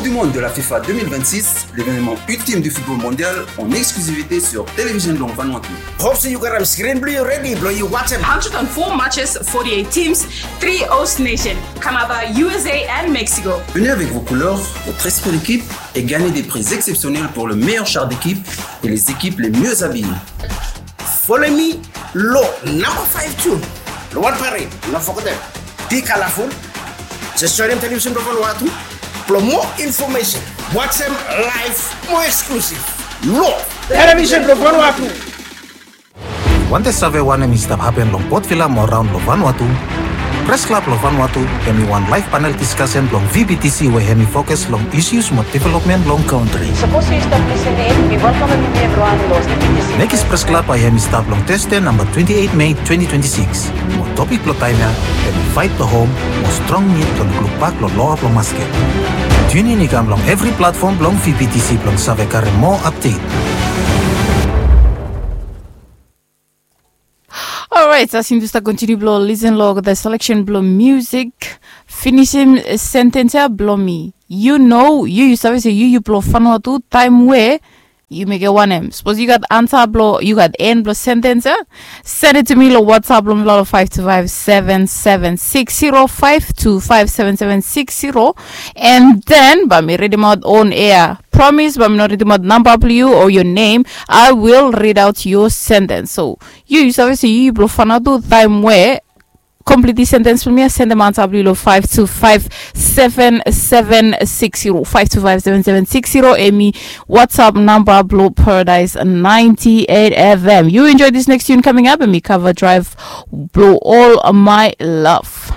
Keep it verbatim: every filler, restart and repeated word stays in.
Du monde de la FIFA deux mille vingt-six, l'événement ultime du football mondial en exclusivité sur Télévision Blanc Vanuatu. Hope se yu gat am screen blong yu redi blong yu wajem. Hundred and four matches, forty-eight teams, three host nation, Canada, U S A and Mexico. Venez avec vos couleurs, votre esprit d'équipe et gagnez des prix exceptionnels pour le meilleur char d'équipe et les équipes les mieux habillées. Follow me lo number five tune lo One Parade, no forget dem. Be colorful. Just join dem Television Blanc Vanuatu. Blo more information, wajem live, more exclusive lo Television Blanc Vanuatu. Wantem save wanem i stap hapen long Port Vila mo raon lo Vanuatu? Press Club lo Vanuatu hemi wan live panel discussion blong V B T C we hemi fokus long issues mo development long kantri. Sapos yu stap lisin in, mi welkamem yumi evriwan lo V B T C. Mekis Press Club bae hemi stap long Thursday namba twenty-eight May twenty twenty-six. Mo topik blo taem ya hemi fight blo hom mo strong nid blo lukluk bak lo loa blo masket. Tune in i kam long evri platform blong V B T C blong save karem moa update. Alright, as yumi stap kontiniu blo listen lo the selection blo music, finisim sentens ya blo mi. Yu no, yu yu save se yu yu blo Vanuatu taem we yu mekem wanem. Sapos yu gat ansa blo, yu gat en blo sentens ya, send it to me lo WhatsApp blo mi lo five two five seven seven six zero, five two five seven seven six zero. And then bae mi ridimaot on air. Promise bae mi no ridimaot namba blo yu o your name. I will read out your sentence. So yu yu save se yu yu blo Vanuatu taem we complete sentence blo mi ya, sendem ansa blo yu lo five two five seven seven six zero, five two five seven seven six zero. Hemi WhatsApp namba blo Paradise ninety-eight F M. Yu enjoy this next tune coming up, hemi Cover Drive blo All My Love.